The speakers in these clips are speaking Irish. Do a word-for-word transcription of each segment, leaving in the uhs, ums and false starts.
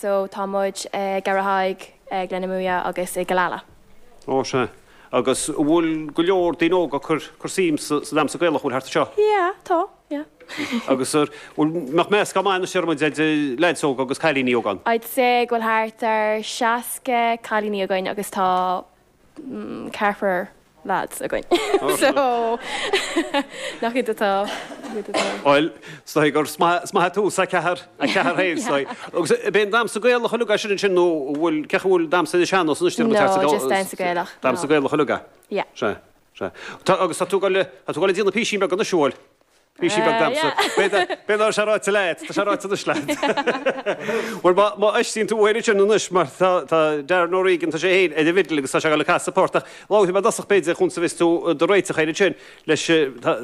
so tá muid uh, Garrahaig, uh, Glenamuia agus i Galala. Ó sé. Agus bhfuil go leor daoine óga cur cur suim sa sa damhsa Gaelach bhfuil thart seo. Yeah, tá, yeah. Agus ar bhfuil nach meascán maith na muid de lads óga agus cailíní óga. I'd say go bhfuil thart ar seasca cailíní againn agus tá mm, ceathrar lads againn. so nach iad atá Oil sta gur sma tú sa ceathair a ceathair héin Agus bíonn damhsa Gaelach chuile sin sin nó bhfuil ce bhfuil damhsa de sean No, just damhsa Gaelach. Damhsa Gaelach chuile Yeah. Se se. Agus tá tú le tá tú le déanamh píosín beag na siúil. Píosín beag damhsa. Bé sé ráite leat, Tá sé ráite na leat. Well má éistíonn tú uair sin anois mar tá Darren O'Regan tá sé héin ag an bhfidil agus tá sé le casadh port ach lá me dasach beidir chun sa vis tú do réiteach chéine sin leis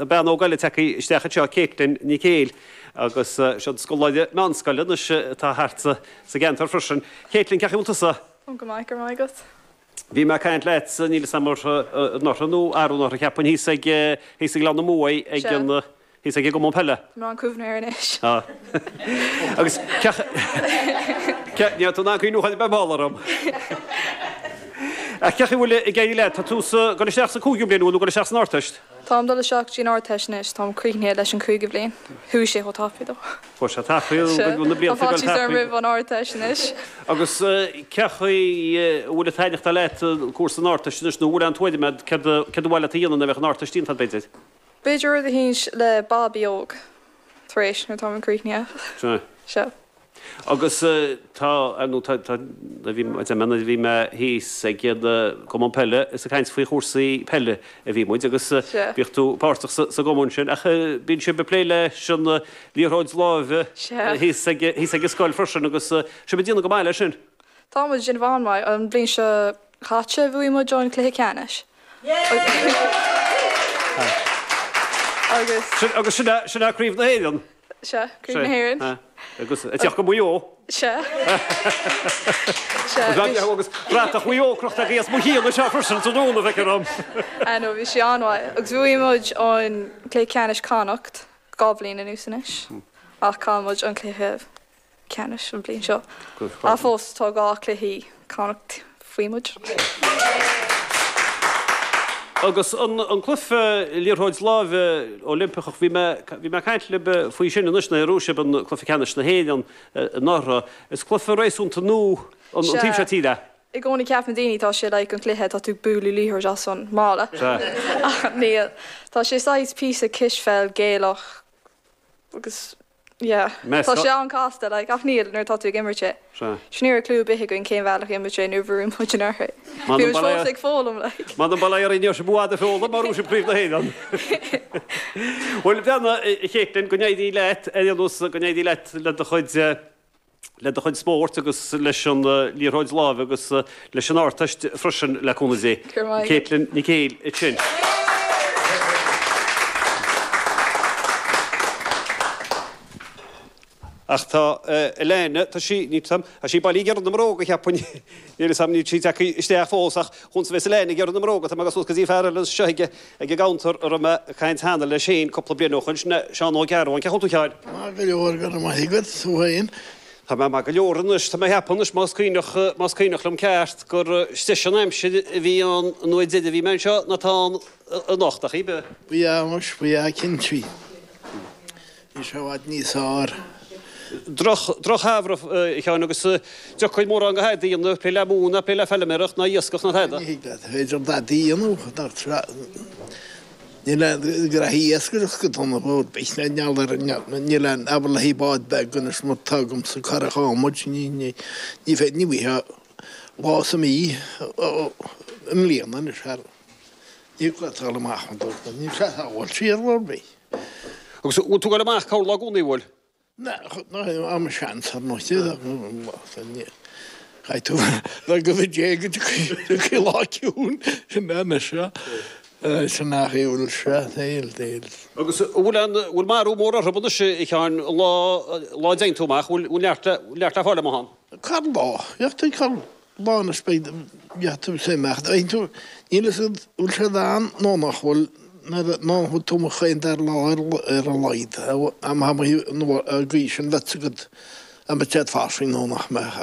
bean óg eile tagtha isteach seo Caitlin Nic Héil agus seo scoláire meánscoile anois atá thart sa gceantar freisin. Caitlin cén chaoi bhfuil tusa? Go maith go maith agat. Bhí mé caint leat níl samar nach nó arú nach ceapan hí ag hí ag le mó ag an hí ag go pelle. Má cuimhne anois. Agus ní tú ná chuú be málarm. A ce bhfuil i gcéi le tá tú go isteach sa cúigiú bliain nó go isteach san Ardteist? Táim dul isteach dtí an Ardteist anois táim críochnaithe leis an cúigiú bliain. Chuaigh sé chomh tapaidh dó. Fuair sé tapaidh na blianta Tá roimh an Ardteist anois. Agus cén chaoi bhfuil taitneamh leat cúrsa an Ardteist anois nó bhfuil an tuairim cad cad bhfuil a dhéanamh bheith an Ardteist déanta b'fhéidir. B'fhéidir rud éicint le babaí óg tar éis nuair táim críochnaithe. Se. Agus tá nó bhí bhí mé thíos ag iad cumann peile is ag caint faoi chúrsaí peile a bhí muid agus bhíodh tú páirteach sa gcumann sin ach bíonn sibh ag plé leis an liathróid láimhe thíos ag an scoil freisin agus sibh ag déanamh go maith leis sin. Tá muid ag déanamh an-mhaith an bhliain seo caite bhuaigh muid an cluiche ceannais. Agus agus sin sin craobh na hÉireann. Se craobh na hÉireann. Agus a teach go Maigh Eo. Se. Agus bratach Mhaigh Eo crochta as mo chíon se freisin sa dúna bheith ram. Nó bhí sé an-mhaith agus bhuaigh muid an cluiche ceannais Connacht dhá bhliain anuas anois ach chaill muid an cluiche ceannais an bhliain seo. A fós tá dhá cluichí Connacht faoi muid. Agus an an cluiche liathróid láimhe Oilimpeach bhí mé bhí mé caint libh faoi sin anois na raibh sibh an cluiche ceannais na hÉireann anuraidh. Is cluiche réasúnta nua an taobh seo tíre. I gcónaí ceapann daoine tá sé like an cluiche tá tú bualadh liathróid as an mála. Níl tá sé saghas píosa cispheil Gaelach agus yeah tá sé an-chasta like ach níl nuair tá tú ag imirt é. Sin ní raibh clue ar bith againn cén bhealach imirt é nuair a bhuaigh muid anuraidh. Bhí muid fós ag foghlaim like. Man an baile ar inniu buad a foghlaim mar raibh sibh craobh na hÉireann. Bhuel bheanna Caitlin go n-éirí leat ar nós go n-éirí leat le do chuid le do chuid spóirt agus leis an liathróid láimhe agus leis an Ardteist freisin le cúnamh Dé. Caitlin Nic Héil sin. Ach tá Elena tá sí ní tá sí bailí ar na mbróga cheapfainn níl sam ní sí tagtha isteach fós ach chun bheith Elena ar na mbróga tá agus go dtí fear eile seo ag ag an gcounter a raibh mé ag caint cheana leis féin cúpla bliain ó shin sin Seán Ó Gearbháin cén chaoi a bhfuil tú a Sheáin? Maith go leor go raibh maith agat tú féin. Tá mé maith go leor anois tá mé ag ceapadh anois más cuimhneach más cuimhneach liom ceart gur deise an aimsir a bhí ann an uair deiridh a bhí mé anseo ná tá ann anocht ach cibé. Bhí anois bhí cinnte. Bhí sé i bhfad níos fearr. Droch drochshamhradh a Sheáin agus deocair mórán go thadaí a dhéanamh, plé le móin ná plé le feilméaracht ná iascach ná tada. Ní thig leat, féidir dadaí a dhéanamh, nach tra- níl aon ghraithí iascaireachta go dona bord, beidh na neal ar níl aon abair le haghaidh bád beag anois mar tá agamsa curach adhmaid, ní ní ní féidir ní bhfaighfeá lá sa mhí i mbliana anois thar ní thig leat dul amach an dul, níl sé sábháilte ar bord bith. Agus bhfuil tú ag dul amach corr lá i gcónaí, bhfuil? Am seans ar ndóigh. Chaith tú le go dté go dtiocfaidh lá ciúin sin anois seo. Sin nach bhfuil sé níl níl. Agus bhfuil an bhfuil marú mór orthu anois a Sheáin lá lá a dtéann tú amach bhfuil neart neart le fáil amach ann? Corr lá. Bheadh tú corr lá anois beidh bheadh tú sa imeacht. Níl fhios agat bhfuil siad ann nó nach bhfuil. Nuair ná thug tú mo chaon dar lá ar a laghad, am an gcaoi sin leat agat, am a d'fhéadfá sin nó nach mbeadh.